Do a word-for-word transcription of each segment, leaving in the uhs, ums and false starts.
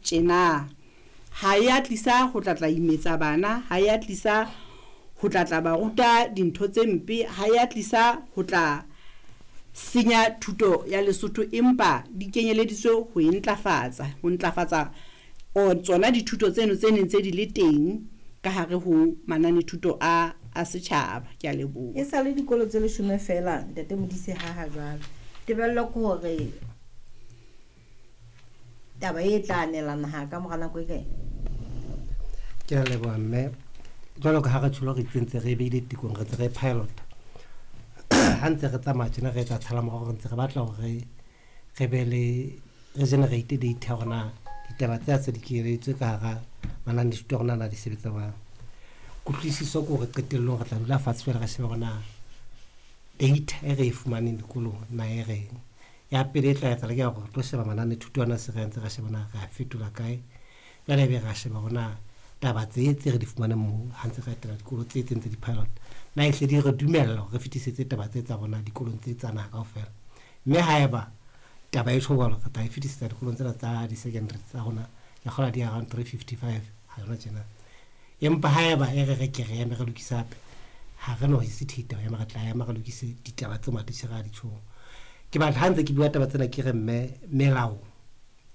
tjena. Ha ya tlisa ho tla tla imetsa bana, ha ya tlisa ho tla tla ba ruta dintho tse mpe, ha ya tlisa ho tla senya thuto ya Lesotho, empa di kenyeleditswe ho e ntlafatsa, ho ntlafatsa o tsona dithuto tseno tse neng tse di le teng ka hare ho mananethuto a a setjhaba. Ke a leboha. E sa le dikolo tse leshome feela ntate Modise ha ha jwale. Tebello ke hore taba e tla anela naha ka mora nako e kae? Ke a leboha mme. Jwalo ka ha re tjholo re itsentse re beile tekong, re ntse re pilot. Ha ntse re tsamaya tjena re etsa tshala morao, re ntse re batla hore re be le re generate data hore na ditaba tse tse di kenyelleditswe ka hara mananethuto a rona na di sebetsa jwang. Kutlwisiso ke hore qetellong re tla dula fatshe jwale re shebe hore na data e re e fumaneng dikolong na e reng. Ya pele e tla etsahala ke ya hore re tlo sheba mananethuto ana se re ntse re sheba na re a fetola kae. Jwale ebe re a sheba hore na taba tse tse re di fumaneng moo ha ntse re etela dikolo tse tse ntse di-pilot na ehle di re dumella hore re fetisetse taba tse tsa rona dikolong tse tsa naha kaofela. Mme haeba taba e tjho jwalo, re tla e fetisetsa dikolong tsena tsa di-secondary tsa rona, ke kgolwa di around three fifty-five ha yona tjena. Empa haeba e re re ke re eme re lokise hape, ha re no hesitate ho ema, re tla ema re lokise ditaba tseo matitjhere a di tjhong. Ke batla ha ntse ke bua taba tsena ke re mme melao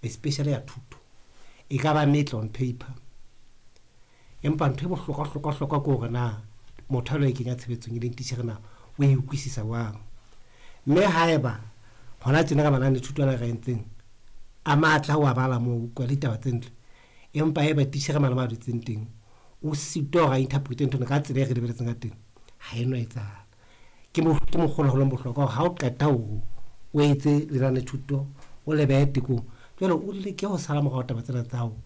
especially ya thuto e ka ba metle on paper, empa ntho e bohlokwa hlokwa hlokwa ke hore na motho a lo e kenya tshebetsong e leng titjhere na o e utlwisisa jwang. Mme haeba hona tjena ka mananethuto ana re entseng a matla ho a bala moo, o utlwa ditaba tse ntle, empa haeba titjhere mane mo a dutseng teng o sitwa hore a interprete ntho ena ka tsela e re lebelletseng ka teng, ha eno etsahala. Ke ke mokgwa ona ho leng bohlokwa hore ha o qeta hore o etse lenanethuto o le behe tekong, jwale o leke ho sala morao taba tsena tsa hao,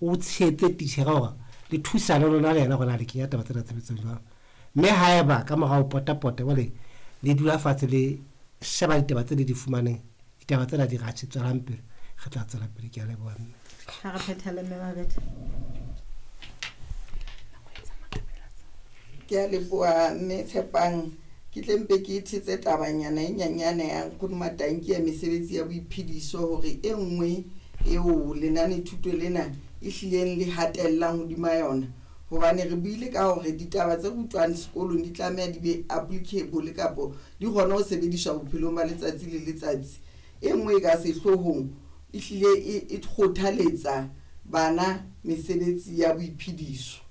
o tshehetse titjhere hore le thusane lona le yena hore na le kenya taba tsena tshebetsong jwang. Mme haeba ka morao pota-pota jwale le dula fatshe le sheba ditaba tse le di fumaneng, ditaba tsena di re atjhe tswelang pele, re tla tswela pele. Ke a leboha mme. Ha re phethele mme Mabetha. Ke a leboha mme Tshepang. Ke tle mpe ke thetse tabanyana e nyanyane ya Nkgono Matanki ya mesebetsi ya boiphediso, hore e nngwe eo lenanethuto lena e hlileng le hatellang hodima yona, hobane re buile ka hore ditaba tse rutwang sekolong di tlameha di be applicable kapo di kgone ho sebediswa bophelong ba letsatsi le letsatsi. E nngwe e ka sehloohong e hlile e kgothaletsa bana mesebetsi ya boiphediso,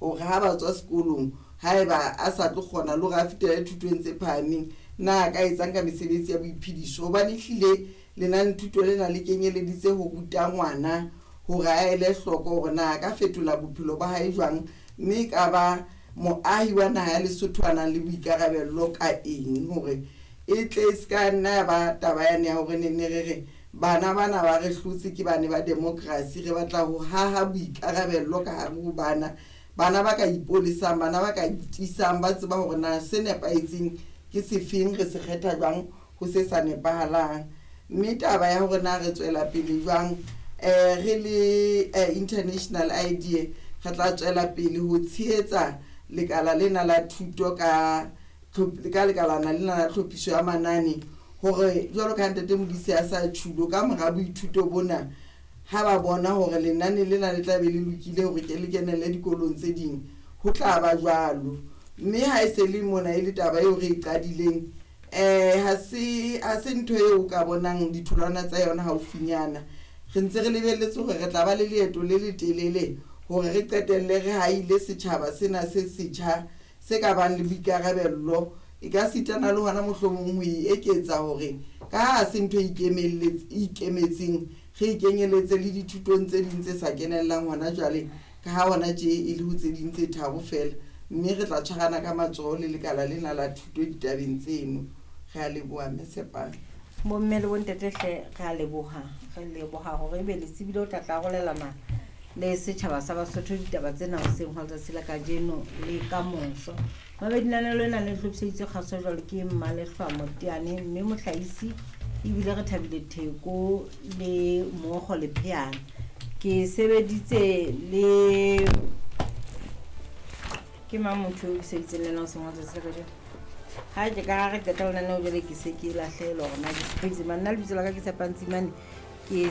hore ha ba tswa sekolong haeba a sa tlo kgona le hore a fetele thutong tse phahameng, na a ka etsang ka mesebetsi ya boiphediso. Hobane ehlile lenanethuto lena le kenyeleditse ho ruta ngwana hore a ele hloko hore na a ka fetola bophelo ba hae jwang, mme e ka ba moahi wa naha ya Lesotho a nang le boikarabello ka eng, hore e tle e ska nna ya ba taba yane ya hore ne ne re re bana bana ba re hlotse ke bane ba democracy. Re batla ho haha boikarabello ka hare ho bana, bana ba ka ipolesang, bana ba ka itisang, ba tseba hore na se nepahetseng ke sefeng, re se kgetha jwang ho se sa nepahalang. Mme taba ya hore na re tswela pele jwang, eh re le International Idea re tla tswela pele ho tshehetsa lekala lena la thuto ka ka lekalana lena la tlhophiso ya manane, hore jwalo ka ntate Modise a sa tjhulo ka mora boithuto bona, ha ba bona hore lenane lena le tla be le lokile hore ke le kenelle dikolong tse ding, ho tla ba jwalo. Mme ha e se le mona e le taba eo re e qadileng, eh ha se ha se ntho eo o ka bonang ditholwana tsa yona haufinyana. Re ntse re lebelletse hore re tla ba le leeto le letelele hore re qetelle re haile setjhaba sena se setjha se ka bang le boikarabello. E ka sitana le hona mohlomong ho e eketsa hore ka ha se ntho e ikemetseng, re ikenyeletse le dithutong tse ding tse sa kenellang hona jwale, ka ha hona tje e le ho tse ding tse tharo feela. Mme re tla tshwarana ka matsoho le lekala lena la thuto ditabeng tseno. Re a leboha mme Tshepang. Bomme le bontate hle re a leboha, re leboha hore ebe le tsebile ho tla tla arolelana le setjhaba sa Basotho ditaba tsena hoseng hwa letsatsi la kajeno le kamoso. Mabedi lenaneo lena le hlophiseditswe kgaso jwalo ke Mmalehlwa Moteane, mme mohlahisi ebile re Thabile Theko le Mookgo Lepheana. Ke sebeditse le ke mang motho eo ke sebeditseng le yena hoseng hwa letsatsi la kajeno? Ha ke ka re qeta lenaneo jwale ke se ke lahlehelwa hore na ke sebeditse mang. Nna lebitso la ka ke Tshepang Tsimane, ke